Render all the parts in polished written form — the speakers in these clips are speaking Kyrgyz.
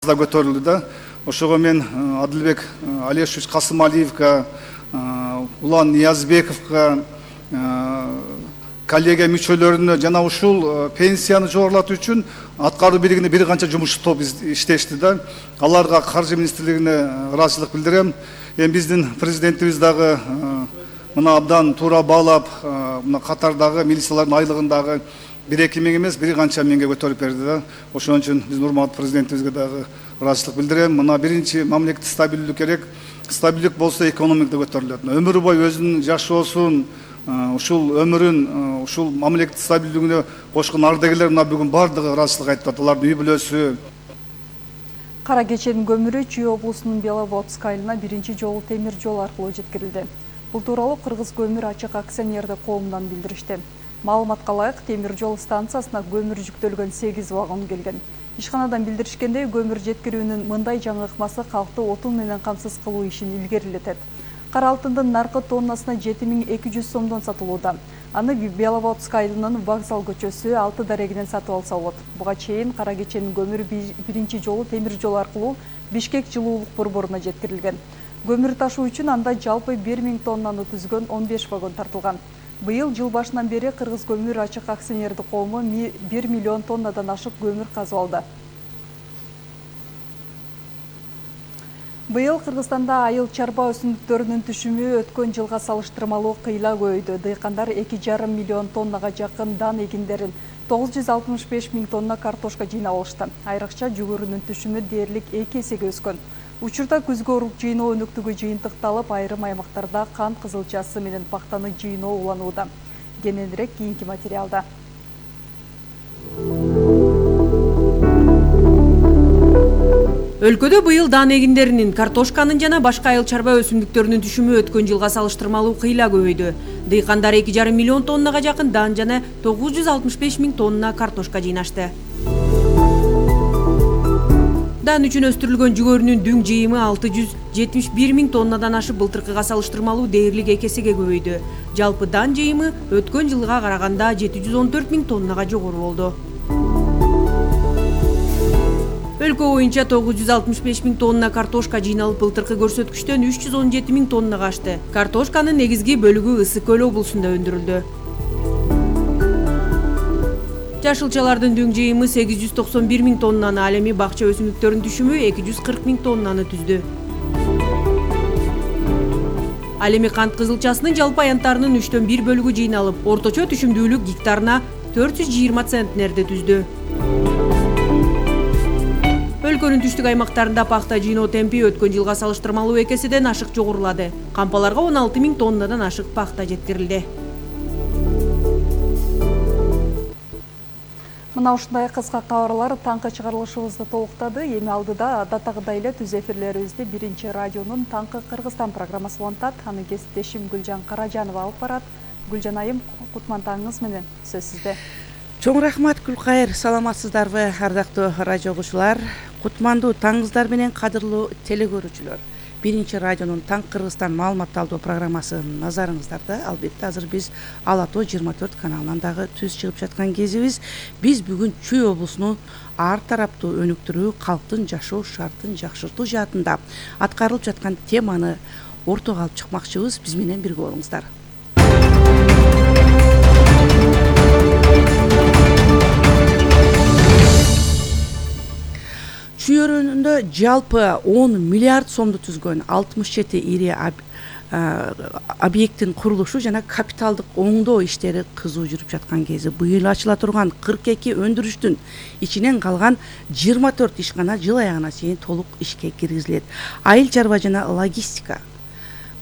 да көтөрүлдү да. Ошого мен Адылбек Алешевич Касымалиевка, Улан Ниязбековка, коллегия мүчөлөрүнө жана ушул пенсияны жогорулатуу үчүн аткаруу биригине бир канча жумуш топ иштешти да. Аларга Каржы министрлигине ыраазычылык билдирем. Эми биздин президентибиз дагы мына абдан туура баалап, мына катардагы милициялардын айлыгындагы 1-2 миң эмес, бир канча миңге көтөрүп берди да. Ошон үчүн биздин урматтуу президентибизге дагы ыраазычылык билдирем. Мына биринчи мамлекеттик стабилдүүлүк керек. Стабилдүүлүк болсо экономика да көтөрүлөт. Өмүр бою өзүнүн жашоосун, ушул өмүрүн, ушул мамлекеттик стабилдүүлүгүнө кошкон ардагерлер мына бүгүн бардыгы ыраазычылык айтып атат. Алардын үй бүлөсү. Кара кеченин көмүрү Чүй облусунун Беловодск айылына биринчи жолу темир жол аркылуу жеткирилди. Бул тууралуу Кыргыз көмүр ачык акционердик коомунан билдиришти. Маалыматка ылайык, темир жол станциясына көмүр жүктөлгөн 8 вагон келген. Ишканадан билдиришкендей, көмүр жеткирүүнүн мындай жаңы ыкмасы калкты отун менен камсыз кылуу ишин илгерилетет. Кара алтындын наркы тоннасына 7200 сомдон сатылууда. Аны Беловодск айылынын Вокзал көчөсү 6 дарегинен сатып алса болот. Буга чейин кара кеченин көмүрү биринчи жолу темир жол аркылуу Бишкек жылуулук борборуна жеткирилген. Көмүр ташуу үчүн анда жалпы 1000 тоннаны түзгөн 15 вагон тартылган. Быйыл жыл башынан бери Кыргыз көмүр ачык акционердик коому 1 миллион тоннадан ашык көмүр казып алды. Быйыл Кыргызстанда айыл чарба өсүмдүктөрүнүн түшүмү өткөн жылга салыштырмалуу кыйла көбөйдү. Дыйкандар 2,5 миллион тоннага жакын дан эгиндерин, 965 миң тонна картошка жыйнап алышты. Айрыкча жүгөрүнүн түшүмү дээрлик 2 эсеге өскөн. Учурда күзгө урук жыйноо өнүктүгү жыйынтыкталып, айрым аймактарда кант кызылчасы менен пактаны жыйноо уланууда. Кененирээк кийинки материалда. Өлкөдө быйыл дан эгиндеринин, картошканын жана башка айыл чарба өсүмдүктөрүнүн түшүмү өткөн жылга салыштырмалуу кыйла көбөйдү. Дыйкандар 2,5 миллион тоннага жакын дан жана 965 миң тонна картошка жыйнашты. Дан үчүн өстүрүлгөн жүгөрүнүн дүң жыйымы 671 миң тоннадан ашып, былтыркыга салыштырмалуу дээрлик 2 эсеге көбөйдү. Жалпы дан жыйымы өткөн жылга караганда 714 миң тоннага жогору болду. Өлкө боюнча 965 миң тонна картошка жыйналып, былтыркы көрсөткүчтөн 317 миң тоннага ашты. Картошканын негизги бөлүгү Ысык көл облусунда өндүрүлдү. Жашылчалардын дүң жыйымы 891 миң тоннаны, ал эми бакча өсүмдүктөрүнүн түшүмү 240 миң тоннаны түздү. Ал эми кант кызылчасынын жалпы аянттарынын 1/3 бөлүгү жыйналып, орточо түшүмдүүлүк гектарына 420 центнерди түздү. Өлкөнүн түштүк аймактарында пахта жыйноо темпи өткөн жылга салыштырмалуу 2 эседен ашык жогорулады. Кампаларга 16 миң тоннадан ашык пахта жеткирилди. Мына ушундай кыска кабарлар таңкы чыгарылышыбызды толуктады. Эми алдыда адаттагыдай эле түз эфирлерибизди биринчи радионун Таңкы Кыргызстан программасы улантат. Аны кесиптешим Гүлжан Каражанова алып барат. Гүлжан айым, кутман таңыңыз менен, сөз сизде. Чоң рахмат, Гүлкайыр. Саламатсыздарбы, ардактуу радио угуучулар? Кутмандуу таңыңыздар менен, кадырлуу телекөрүүчүлөр. Биринчи радионун Таңкы Кыргызстан маалымат алуу программасы назарыңыздарда. Албетте азыр биз Ала Тоо 24 каналынан дагы түз чыгып жаткан кезибиз. Биз бүгүн Чүй облусунун ар тараптуу өнүктүрүү, калктын жашоо шартын жакшыртуу жаатында аткарылып жаткан теманы ортого алып чыкмакчыбыз. Биз менен бирге болуңуздар. Чүй өрөөнүндө жалпы 10 миллиард сомду түзгөн 67 ири объекттин курулушу жана капиталдык оңдоо иштери кызуу жүрүп жаткан кези быйыл ачыла турган 42 өндүрүштүн ичинен калган 24 ишкана жыл аягына чейин толук ишке киргизилет. Айыл чарба жана логистика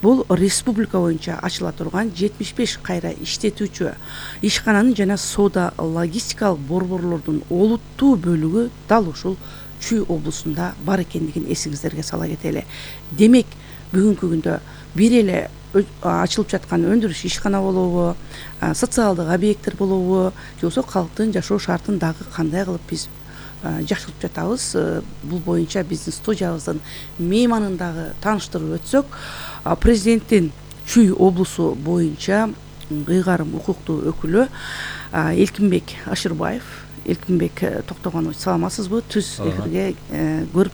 бул республика боюнча ачыла турган 75 кайра иштетүүчү ишкананын жана соода логистикалык борборлордун олуттуу бөлүгү дал ушул Чүй облусунда бар экендигин эсиңиздерге сала кетели. Демек, бүгүнкү күндө бир эле ачылып жаткан өндүрүш ишкана болобу, социалдык объекттер болобу, же болбосо калктын жашоо шартын дагы кандай кылып биз жакшыртып жатабыз. Бул боюнча биздин студиябыздын мейманын дагы тааныштырып өтсөк, президенттин Чүй облусу боюнча ыйгарым укуктуу өкүлү Элкинбек Ашырбаев Элкинбек Токтогонович, саламатсызбы? Түз эфирге көрүп